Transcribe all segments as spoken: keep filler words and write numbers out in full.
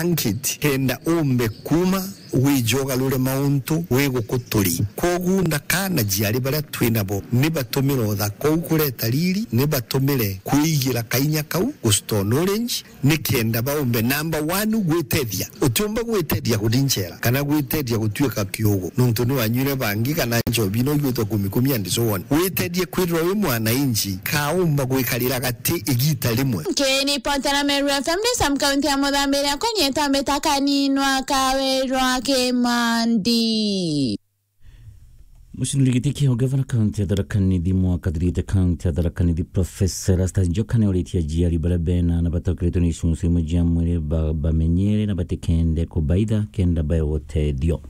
blanket, kenda umbe kuuma wije ugarure mauntu wi guku turi. Kwogu ndaka na aciari baria twi nabo ni batumire uthaka uu kureta riri, ni batumire kwigira kainya kau gu store knowledge, ni kenda baumbe, number one, gwitethia. Utiumba gwitethia kuthi nchera kana gwitethia gutuika kiugu, nontu ni wanyuire bangi kana nchobi no igwitwa kumi kumi and so on. Witethie kwithirwa wi mwananchi, kaumba gwikarira gati igita rimwe. Nkiripotera Meru F M ni Sam, kaunti ya Muthambi, iria kwa nyeta mbita kaninwa Kawirwa Kimandi. Mucindiri giti kia ugavana kaunti ya Tharaka Nithi mwaka thirite kaunti ya Tharaka Nithi, Professor Erastus Njoka, ni oritie aciari baria bena aana batakiritwe ni icuncu imwe cia mwiri ba-, bamenyere na batikende kubaitha kenda baewa utethio.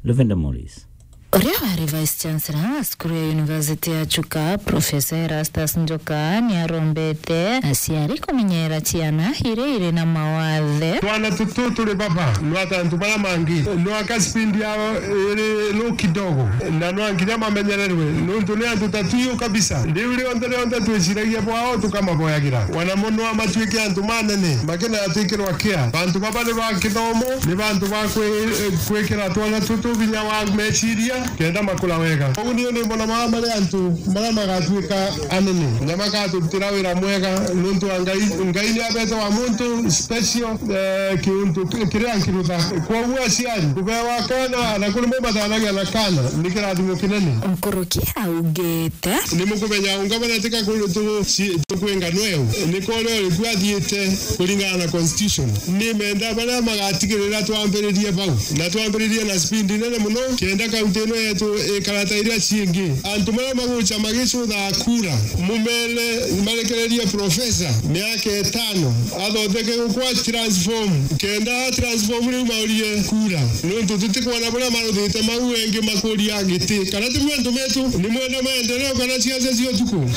Lavender Morris. Uria wari Vice Chancellor wa cukuru ya University ya Chuka, Professor Erastus Njoka, ni arombete aciari kumenyera ciana iria iri na mawathe. Twana tutu turi baba, nwa ta antu baria mangi, nwa ka speed yao iri low kidogo, na nwa nginya mamenyererwe, nontu ni antu ta tuyu kabisa. Riu rionthe rionthe twiciragia bwao tukamaboyagira. Wana muno amatuike antu manene, makena atwikirwa care. Bantu baba ni ba kithomo, ni bantu ba kwi-, kwikira twana tutu vinya wa meciria, kenda makura wega. Koguo niu ni mbona mama mari antu maria magatuika anene, na makaturutira wira mwega, nontu wa Ngai, Ngai ni abete wa muntu special, eh, kiuntu ki-, kiria nkirutha. Kwoguo aciari, kubewa kana, na kuri mumathanagia na kana, ni kirathimo kinene. Nkuruki augite. Ni mukumenya ungabona tika kuri tu-, ci-, tukwinga nweu. Ni kore uri kwathiite kuringana na constitution. Ni menda baria magatigirira twambiririe bau. Na twambiririe na speed nene muno, kenda kaunti ino yetu ikara ta iria ciingi. Antu baria magucha magicutha kura, mumere marekererie professor miaka itano, athondeke gukwa transform, kenda transform riu maurie kura. Nontu tutikwona buria maruthite mau engi makuria giti. Kana ti bwio antu betu, ni mwenda maendeleo kana ciaca cia utuku?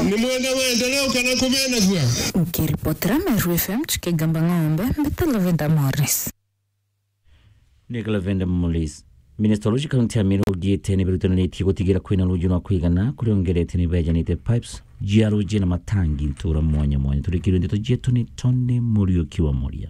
Ni mwenda maendeleo kana kumenagua? Nkiripotera Meru F M, Chikigamba Ng'ombe, mbita Lavender Morris. Ni Lavender Morris. Minista wa ruji kaunti ya Meru augite ni berutaniritie gutigira kwina ruji rwa kwigana kuria ongerete ni bejanite pipes jia ruji na matangi ntura mwanya mwanya. Turikirwe ndeto cietu ni Tony Muriuki wa Muria.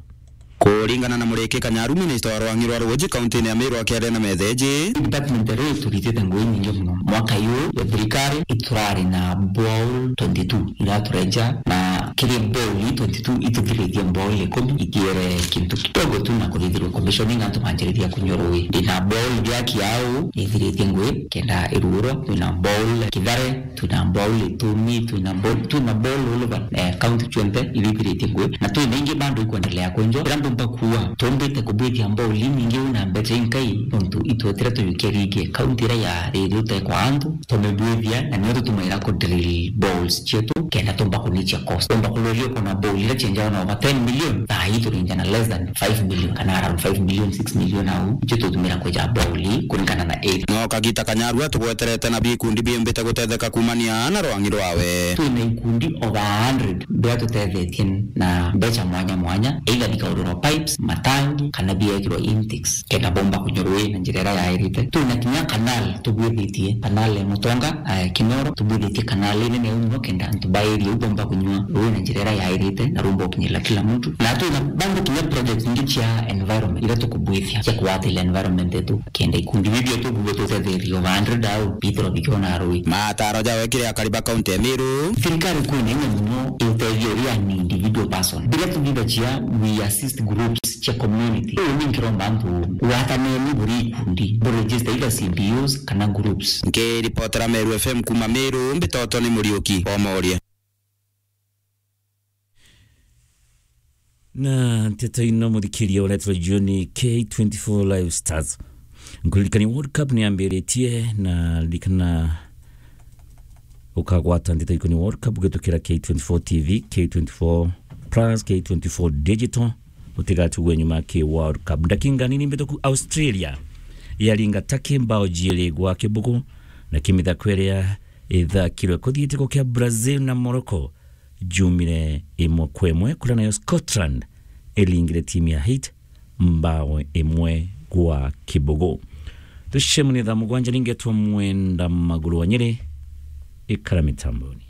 Kuringana na Muriki Kanyaru, minista wa rwang'i rwa ruji kaunti-ini ya Meru akiaria na metheji, department ya ruji turitite ngugi nyingi muno. Mwaka uyu ya thirikari iturari na borehole twenty-two iratureja, na kiri borehole twenty-two ituthiritie borehole ikumi, ithiere kintu kidogo tu na kuthithirwa commissioning antu manjiriria kunyua ruji. Ndina borehole iria kiau ithiritie ngugi kenda iruurwa, twina borehole Kithare, twina borehole Itumi, twina borehole, twina borehole all over, eh, county cionthe irithiritie ngugi, na twina ingi bado ikwendelea kwenjwa. Ira mbumba kuuga, tumbite kubwithia borehole inyingi na mbeca inkai, nontu itwetire tuyukia ringi county iria yari itekwa antu, tumibwithia, na nio tutumaira ku drill boreholes cietu, kenda tumba kunichia cost. Tumba kururia kuna borehole iria cienjawa na over ten million, thaa ii turinja na less than five million, kana around five million, six million au, icio tutumira kweja borehole kuringana na area. No kagita Kanyaru atugweterete na bikundi biumbite gutetheka kumania na rwang'i rwawe. Twina ikundi over a hundred biria tutethetie na mbeca mwanya mwanya, either bikaururwa pipes, matangi, kana biekirwa intakes, kenda bomba kunyua ruji na njira iria yairite. Twina kinya canal tubwithitie, canal ya Mutonga, eh, Kinoro, tubwithitie canal inene uyu muno kenda antu ba area iu bomba kunyua ruji na njira iria yairite na rumba ukinyirira kila muntu. Na twina bado kinya projects ingi cia environment iria tukubwithia cia kugwatira environment yetu, kenda ikundi biu bietu bibwe tutetherie over a hundred au bithirwa bikiona ruji. Mataro jawe kiri akari ba kaunti ya Meru. Thirikari kwina inya muno itethia uria ni individual person. Biria tuthithagia, we assist groups cia community. Uu ni nkiromba antu gwataneni buri ikundi, bu register either C B Us kana groups. Nkiripotera Meru F M kuma Meru, mbitoto ni Muriuki wa Moria. Na nteto ino, muthikiria, uretwa Juni K twenty-four Live Stars. Nkuririkania World Cup ni yambiritie, na ririkana ukagwata nteto ikoni World Cup ugitukira K twenty-four T V, K twenty-four Plus, K twenty-four Digital. Utigatigwe nyuma ki World Cup. Ndakinga nini mbituku, Australia yaringa Turkey mbao jiiri gwa kibugu, na kimithako iria ithakirwe kuthiitiko kia Brazil na Morocco jumire imwe kwa imwe, kuria nayo Scotland iringire timu ya Haiti mbao imwe gwa kibugu. Tucemanie thaa mugwanja, ningetwa Mwenda Maguru wa Nyeri, ikara mitamboni.